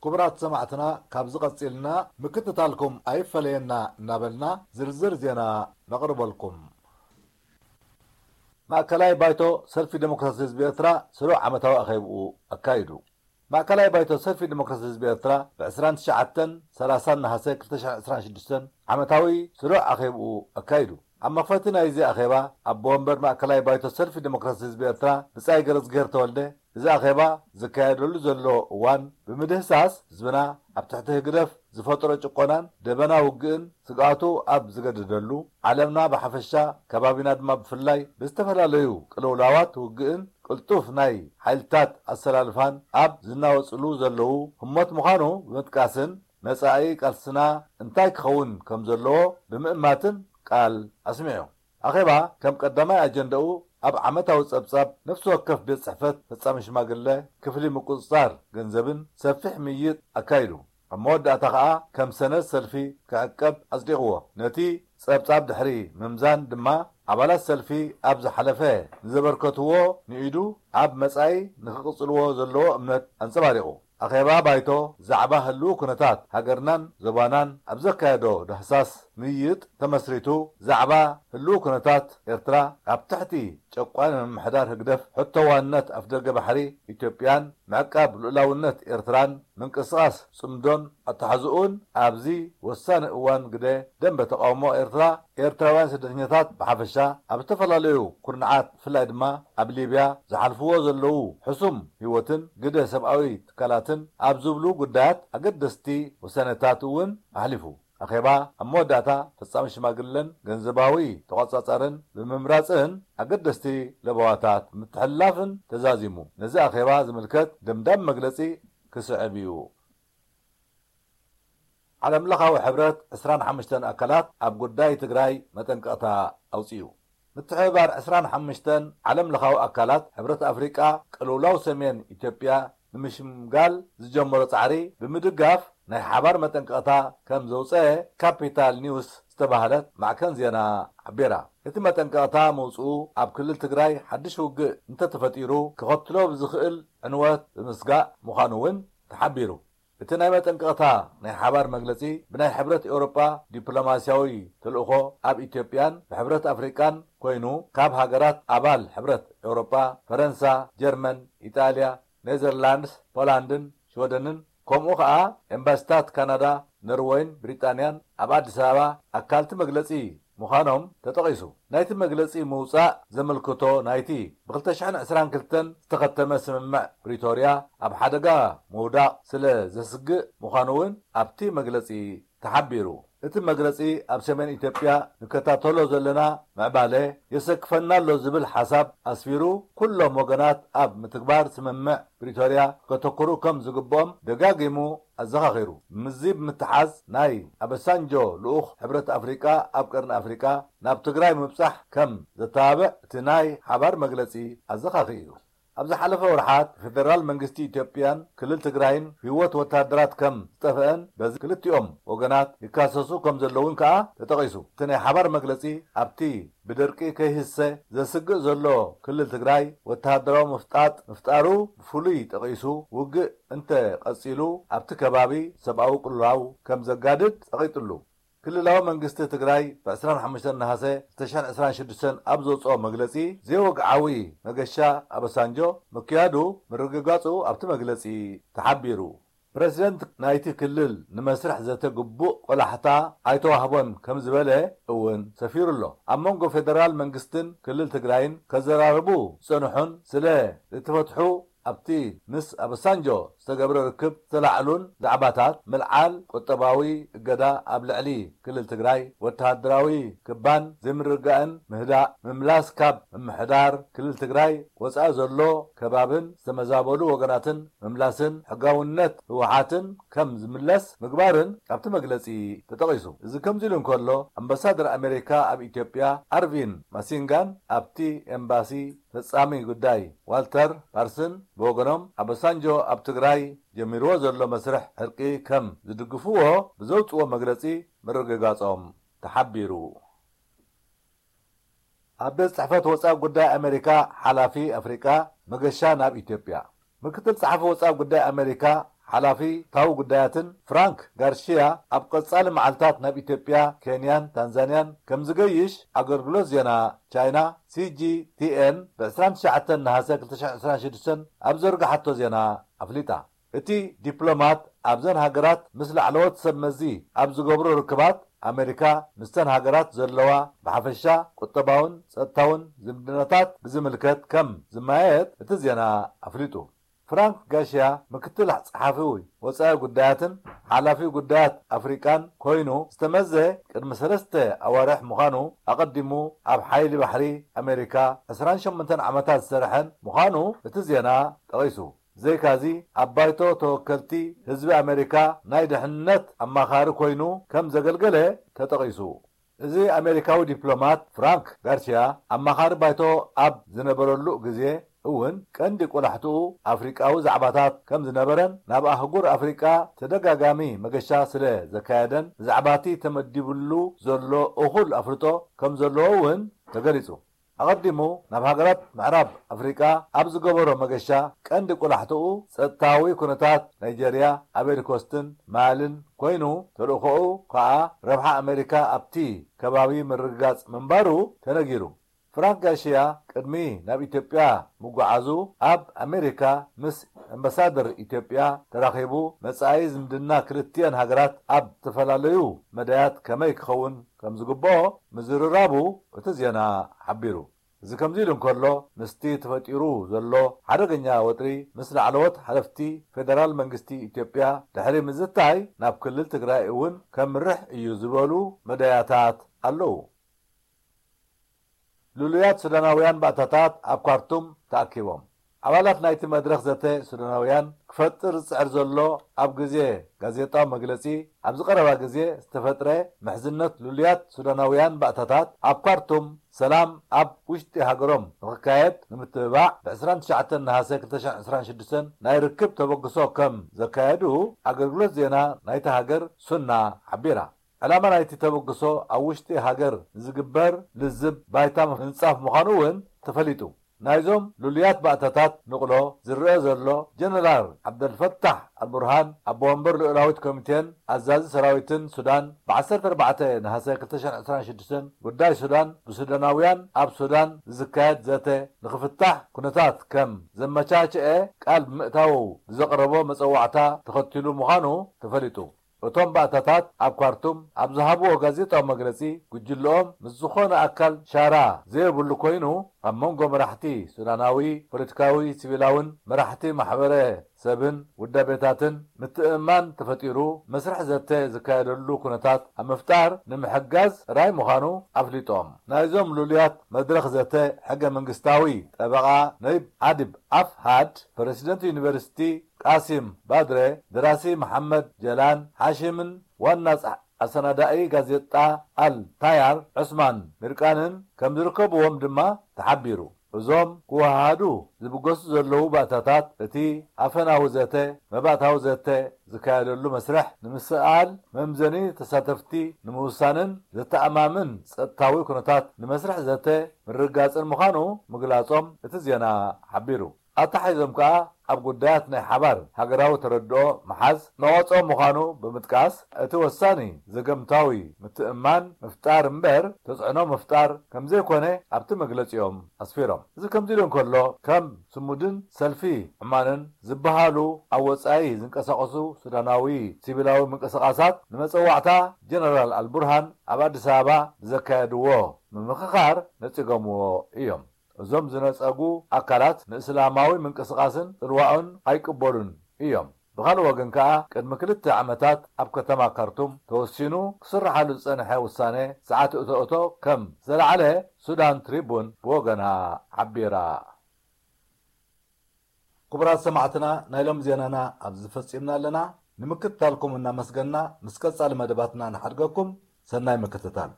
ክቡራት ሰማዕትና፣ ካብዚ ቀጺልና ምክትታልኩም ኣይፈለየና እናበልና ዝርዝር ዜና ነቕርበልኩም። ማእከላይ ባይቶ ሰልፊ ዴሞክራሲ ህዝቢ ኤርትራ ስሩዕ ዓመታዊ ኣኼብኡ ኣካይዱ። ማእከላይ ባይቶ ሰልፊ ዴሞክራሲ ህዝቢ ኤርትራ ብ ዕስራን ትሽዓተን ሰላሳን ነሃሰ ክልተ ሽሕን ዕስራን ሽዱሽተን ዓመታዊ ስሩዕ ኣኼብኡ ኣካይዱ። ኣብ መኽፈቲ ናይዚ ኣኼባ፣ ኣቦ ወንበር ማእከላይ ባይቶ ሰልፊ ዴሞክራሲ ህዝቢ ኤርትራ ብጻይ ገረዝግሄር ተወልደ፣ እዚ ኣኼባ ዝካየደሉ ዘሎ እዋን ብምድህሳስ፣ ህዝብና ኣብ ትሕቲ ህግደፍ ዝፈጥሮ ጭቆናን ደበና ውግእን ስግኣቱ ኣብ ዝገደደሉ፣ ዓለምና ብሓፈሻ ከባቢና ድማ ብፍላይ ብዝተፈላለዩ ቅልውላዋት ውግእን ቅልጡፍ ናይ ሓይልታት ኣሰላልፋን ኣብ ዝናወጽሉ ዘለዉ ህሞት ምዃኑ ብምጥቃስን፣ መጻኢ ቃልስና እንታይ ክኸውን ከም ዘለዎ ብምእማትን ቃል ኣስሚዑ። ኣኼባ ከም ቀዳማይ ኣጀንዳኡ ኣብ ዓመታዊ ጸብጻብ ነፍሲ ወከፍ ቤት ጽሕፈት ፈጻሚ ሽማግለ፣ ክፍሊ ምቁጽጻር ገንዘብን ሰፊሕ ምይይጥ ኣካይዱ። ኣብ መወዳእታ ከኣ ከም ሰነድ ሰልፊ ክዕቀብ ኣጽዲቕዎ። ነቲ ጸብጻብ ድሕሪ ምምዛን ድማ ኣባላት ሰልፊ ኣብ ዝሓለፈ ንዘበርከትዎ ንኢዱ ኣብ መጻኢ ንኽቕጽልዎ ዘለዎ እምነት ኣንጸባሪቑ። ኣኼባ ባይቶ ዛዕባ ህልው ኩነታት ሃገርናን ዞባናን ኣብ ዘካየዶ ዳህሳስ ምይይጥ ተመስሪቱ፣ ዛዕባ ህልው ኩነታት ኤርትራ ኣብ ትሕቲ ጨቋኒ ምምሕዳር ህግደፍ፣ ሕቶ ዋንነት ኣፍደገ ባሕሪ ኢትዮጵያን ምዕቃብ ልኡላውነት ኤርትራን ምንቅስቓስ ጽምዶን ኣተሓዝኡን ኣብዚ ወሳኒ እዋን ግደ ደንበ ተቓውሞ ኤርትራ፣ ኤርትራውያን ስደተኛታት ብሓፈሻ ኣብ ዝተፈላለዩ ኩርናዓት፣ ብፍላይ ድማ ኣብ ሊብያ ዝሓልፍዎ ዘለዉ ሕሱም ህይወትን ግደ ሰብኣዊ ትካላትን ኣብ ዝብሉ ጉዳያት ኣገደስቲ ውሳነታት እውን ኣሕሊፉ። ኣኼባ ኣብ መወዳእታ ፈጻሚ ሽማግለን ገንዘባዊ ተቖጻጻርን ብምምራጽን ኣገደስቲ ለበዋታት ምትሕልላፍን ተዛዚሙ። ነዚ ኣኼባ ዝምልከት ደምዳሚ መግለጺ ክስዕብ እዩ። ዓለምለኻዊ ሕብረት ዕስራን ሓሙሽተን ኣካላት ኣብ ጉዳይ ትግራይ መጠንቀቕታ ኣውጺኡ። ምትሕብባር ዕስራን ሓሙሽተን ዓለምለኻዊ ኣካላት ሕብረት ኣፍሪቃ ቅልውላው ሰሜን ኢትዮጵያ ንምሽምጋል ዝጀመሮ ጻዕሪ ብምድጋፍ ናይ ሓባር መጠንቀቕታ ከም ዘውጸአ ካፒታል ኒውስ ዝተባህለት ማዕከን ዜና ሓቢራ። እቲ መጠንቀቕታ ምውጽኡ ኣብ ክልል ትግራይ ሓድሽ ውግእ እንተተፈጢሩ ከኸትሎ ብዝኽእል ዕንወት ብምስጋእ ምዃኑ እውን ተሓቢሩ። እቲ ናይ መጠንቀቕታ ናይ ሓባር መግለጺ ብናይ ሕብረት ኤውሮጳ ዲፕሎማስያዊ ተልእኾ ኣብ ኢትዮጵያን ብሕብረት ኣፍሪቃን ኮይኑ ካብ ሃገራት ኣባል ሕብረት ኤውሮጳ ፈረንሳ፣ ጀርመን፣ ኢጣልያ፣ ኔዘርላንድስ፣ ፖላንድን ሽወደንን ከምኡ ኸኣ ኤምባሲታት ካናዳ፣ ኖርወይን ብሪጣንያን ኣብ ኣዲስ ኣበባ ኣካልቲ መግለጺ ምዃኖም ተጠቒሱ። ናይቲ መግለጺ ምውጻእ ዘመልክቶ ናይቲ ብ ክልተ ሽሕን ዕስራን ክልተን ዝተኸተመ ስምምዕ ፕሪቶርያ ኣብ ሓደጋ ምውዳቕ ስለ ዘስግእ ምዃኑ እውን ኣብቲ መግለጺ ተሓቢሩ። እቲ መግለጺ ኣብ ሰሜን ኢትዮጵያ ንከታተሎ ዘለና ምዕባለ የሰክፈና ኣሎ ዝብል ሓሳብ ኣስፊሩ፣ ኩሎም ወገናት ኣብ ምትግባር ስምምዕ ፕሪቶርያ ከተኩሩ ከም ዝግብኦም ደጋጊሙ ኣዘኻኺሩ። ምስዚ ብምትሓዝ ናይ ኣበሳንጆ ልኡኽ ሕብረት ኣፍሪቃ ኣብ ቀርኒ ኣፍሪቃ ናብ ትግራይ ምብጻሕ ከም ዘተባብዕ እቲ ናይ ሓባር መግለጺ ኣዘኻኺሩ። ኣብ ዝሓለፈ ወርሓት ብፌደራል መንግስቲ ኢትዮጵያን ክልል ትግራይን ህይወት ወተሃደራት ከም ዝጠፍአን በዚ ክልቲኦም ወገናት ይካሰሱ ከም ዘለውን ከኣ ተጠቒሱ። እቲ ናይ ሓባር መግለጺ ኣብቲ ብደርቂ ከይህሰ ዘስግእ ዘሎ ክልል ትግራይ ወተሃደራዊ ምፍጣጥ ምፍጣሩ ብፍሉይ ጠቒሱ፣ ውግእ እንተ ቀጺሉ ኣብቲ ከባቢ ሰብኣዊ ቅልውላው ከም ዘጋድድ ጸቒጡሉ። ክልላዊ መንግስቲ ትግራይ ብ ዕስራን ሓሙሽተን ነሃሰ ክልተ ሽሕን ዕስራን ሽዱሽተን ኣብ ዘውፅኦ መግለፂ፣ ዘይወግዓዊ መገሻ ኣበሳንጆ ምክያዱ ምርግጋፁ ኣብቲ መግለፂ ተሓቢሩ። ፕረዚደንት ናይቲ ክልል ንመስርሕ ዘተ ግቡእ ቆላሕታ ኣይተዋህቦን ከም ዝበለ እውን ሰፊሩ ኣሎ። ኣብ መንጎ ፌደራል መንግስትን ክልል ትግራይን ከዘራርቡ ዝፀንሑን ስለ ዝተፈትሑ ኣብቲ ምስ ኣበሳንጆ ዝተገብረ ርክብ ዝተላዕሉን ዛዕባታት ምልዓል ቁጠባዊ እገዳ ኣብ ልዕሊ ክልል ትግራይ፣ ወተሃደራዊ ክባን ዘይምርግጋእን ምህዳእ፣ ምምላስ ካብ ምምሕዳር ክልል ትግራይ ወፃኢ ዘሎ ከባብን ዝተመዛበሉ ወገናትን ምምላስን ሕጋውነት ህወሓትን ከም ዝምለስ ምግባርን ኣብቲ መግለፂ ተጠቒሱ። እዚ ከምዚ ኢሉ እንከሎ፣ ኣምባሳደር ኣሜሪካ ኣብ ኢትዮጵያ ኣርቪን ማሲንጋን ኣብቲ ኤምባሲ ፈጻሚ ጉዳይ ዋልተር ፓርስን ብወገኖም፣ ኣበሳንጆ ኣብ ትግራይ ጀሚርዎ ዘሎ መስርሕ ዕርቂ ከም ዝድግፍዎ ብዘውጽዎ መግለጺ ምርግጋጾም ተሓቢሩ። ኣብ ቤት ጽሕፈት ወጻኢ ጉዳይ ኣሜሪካ ሓላፊ ኣፍሪቃ መገሻ ናብ ኢትዮጵያ። ምክትል ጸሓፊ ወጻኢ ጉዳይ ኣሜሪካ ሓላፊ ታዊ ጉዳያትን ፍራንክ ጋርሺያ ኣብ ቀጻሊ መዓልታት ናብ ኢትዮጵያ፣ ኬንያን ታንዛንያን ከም ዝገይሽ ኣገልግሎት ዜና ቻይና ሲጂቲኤን ብ ዕስራን ትሽዓተን ነሃሰ ክልተ ሽሕን ዕስራን ሽዱሽተን ኣብ ዘርግሓቶ ዜና ኣፍሊጣ። እቲ ዲፕሎማት ኣብዘን ሃገራት ምስ ላዕለዎት ሰብ መዚ ኣብ ዝገብሮ ርክባት ኣሜሪካ ምስተን ሃገራት ዘለዋ ብሓፈሻ ቁጠባውን ጸጥታውን ዝምድናታት ብዝምልከት ከም ዝመያየጥ እቲ ዜና ኣፍሊጡ። ፍራንክ ጋሽያ ምክትል ጸሓፊ ወጻኢ ጉዳያትን ሓላፊ ጉዳያት ኣፍሪቃን ኮይኑ ዝተመዘ ቅድሚ ሰለስተ ኣዋርሕ ምዃኑ ኣቐዲሙ ኣብ ሓይሊ ባሕሪ ኣሜሪካ ዕስራን ሸሞንተን ዓመታት ዝሰርሐን ምዃኑ እቲ ዜና ጠቒሱ። ዘይካዚ ኣብ ባይቶ ተወከልቲ ህዝቢ ኣሜሪካ ናይ ድሕነት ኣማኻሪ ኮይኑ ከም ዘገልገለ ተጠቒሱ። እዚ ኣሜሪካዊ ዲፕሎማት ፍራንክ ጋርሲያ ኣማኻሪ ባይቶ ኣብ ዝነበረሉ ግዜ እውን ቀንዲ ቆላሕትኡ ኣፍሪቃዊ ዛዕባታት ከም ዝነበረን ናብ ኣህጉር ኣፍሪቃ ተደጋጋሚ መገሻ ስለ ዘካየደን ብዛዕባቲ ተመዲብሉ ዘሎ እኹል ኣፍልጦ ከም ዘለዎ እውን ተገሊጹ። ኣቐዲሙ ናብ ሃገራት ምዕራብ ኣፍሪቃ ኣብ ዝገበሮ መገሻ ቀንዲ ቆላሕትኡ ጸጥታዊ ኩነታት ናይጀርያ፣ ኣበሪኮስትን ማልን ኮይኑ ተልእኾኡ ከኣ ረብሓ ኣሜሪካ ኣብቲ ከባቢ ምርግጋጽ ምንባሩ ተነጊሩ። ፍራንክ ጋሽያ ቅድሚ ናብ ኢትዮጵያ ምጉዓዙ ኣብ ኣሜሪካ ምስ ኣምባሳደር ኢትዮጵያ ተራኺቡ መጻኢ ዝምድና ክልቲኤን ሃገራት ኣብ ዝተፈላለዩ መዳያት ከመይ ክኸውን ከም ዝግብኦ ምዝርራቡ እቲ ዜና ሓቢሩ። እዚ ከምዚ ኢሉ እንከሎ ምስቲ ተፈጢሩ ዘሎ ሓደገኛ ወጥሪ ምስ ላዕለዎት ሓለፍቲ ፌደራል መንግስቲ ኢትዮጵያ ድሕሪ ምዝታይ ናብ ክልል ትግራይ እውን ከምርሕ እዩ ዝበሉ መዳያታት ኣለዉ። ልሉያት ሱዳናውያን ባእታታት ኣብ ካርቱም ተኣኪቦም። ኣባላት ናይቲ መድረኽ ዘተ ሱዳናውያን ክፈጥር ዝጽዕር ዘሎ ኣብ ግዜ ጋዜጣዊ መግለጺ ኣብ ዝቐረባ ግዜ ዝተፈጥረ ምሕዝነት ልሉያት ሱዳናውያን ባእታታት ኣብ ካርቱም ሰላም ኣብ ውሽጢ ሃገሮም ንኽካየድ ንምትብባዕ ብ ዕስራን ትሽዓተን ነሃሰ ክልተ ሽሕን ዕስራን ሽዱሽተን ናይ ርክብ ተበግሶ ከም ዘካየዱ ኣገልግሎት ዜና ናይታ ሃገር ሱና ሓቢራ። ዕላማ ናይቲ ተበግሶ ኣብ ውሽጢ ሃገር ንዝግበር ልዝብ ባይታ ምንጻፍ ምዃኑ እውን ተፈሊጡ። ናይዞም ልሉያት ባእታታት ንቕሎ ዝረአ ዘሎ ጀነራል ዓብደልፈታሕ ኣልቡርሃን ኣቦ ወንበር ልኡላዊት ኮሚቴን ኣዛዚ ሰራዊትን ሱዳን ብ ዓሰርተ ኣርባዕተ ነሃሰ ክልተ ሽሕን ዕስራን ሽዱሽተን ጉዳይ ሱዳን ብሱዳናውያን ኣብ ሱዳን ዝካየድ ዘተ ንኽፍታሕ ኩነታት ከም ዘመቻችአ ቃል ብምእታዉ ብዘቕረቦ መጸዋዕታ ተኸቲሉ ምዃኑ ተፈሊጡ። እቶም ባእታታት ኣብ ካርቱም ኣብ ዝሃብዎ ጋዜጣዊ መግለጺ፣ ጉጅለኦም ምስ ዝኾነ ኣካል ሻራ ዘየብሉ ኮይኑ፣ ኣብ መንጎ መራሕቲ ሱዳናዊ ፖለቲካዊ፣ ሲቪላውን መራሕቲ ማሕበረ ሰብን ውዳቤታትን ምትእምማን ተፈጢሩ መስርሕ ዘተ ዝካየደሉ ኩነታት ኣብ ምፍጣር ንምሕጋዝ ጥራይ ምዃኑ ኣፍሊጦም። ናይዞም ልሉያት መድረኽ ዘተ ሕገ መንግስታዊ ጠበቓ ነይብ ኣድብ ኣፍሃድ፣ ፕረሲደንት ዩኒቨርሲቲ ቃሲም ባድረ፣ ደራሲ መሓመድ ጀላን ሓሺምን ዋና ጸ-፣ ኣሰናዳኢ ጋዜጣ ኣል ታያር ዑስማን ሚርቃንን ከም ዝርከብዎም ድማ ተሓቢሩ። እዞም ክወሃሃዱ ዝብገሱ ዘለዉ ባእታታት እቲ ኣፈናዊ ዘተ፣ መባእታዊ ዘተ ዝካየደሉ መስርሕ ንምስኣል መምዘኒ ተሳተፍቲ ንምውሳንን ዘተኣማምን ጸጥታዊ ኩነታት ንመስርሕ ዘተ ምርግጋጽን ምዃኑ ምግላጾም እቲ ዜና ሓቢሩ። ኣተሓሒዞም ከኣ ኣብ ጉዳያት ናይ ሓባር ሃገራዊ ተረድኦ ምሓዝ መዋጽኦ ምዃኑ ብምጥቃስ፣ እቲ ወሳኒ ዘገምታዊ ምትእምማን ምፍጣር እምበር ተጽዕኖ ምፍጣር ከም ዘይኮነ ኣብቲ መግለጺኦም ኣስፊሮም። እዚ ከምዚ ኢሉ እንከሎ፣ ከም ስሙድን ሰልፊ ዕማንን ዝበሃሉ ኣብ ወጻኢ ዝንቀሳቐሱ ሱዳናዊ ሲቪላዊ ምንቅስቓሳት ንመጸዋዕታ ጀነራል ኣልቡርሃን ኣብ ኣዲስ ኣበባ ብዘካየድዎ ምምኽኻር ነጺጎምዎ እዮም። እዞም ዝነጸጉ ኣካላት ንእስላማዊ ምንቅስቓስን ጽልዋኡን ኣይቅበሉን እዮም። ብኻልእ ወገን ከኣ ቅድሚ ክልተ ዓመታት ኣብ ከተማ ካርቱም ተወሲኑ ክስርሓሉ ዝጸንሐ ውሳነ ሰዓት እቶ እቶ ከም ዘለዓለ ሱዳን ትሪቡን ብወገና ሓቢራ። ክቡራት ሰማዕትና ናይ ሎም ዜናና ኣብዚ ፈጺምና ኣለና። ንምክትታልኩም እናመስገና ምስ ቀጻሊ መደባትና ንሓድገኩም ሰናይ ምክትታል።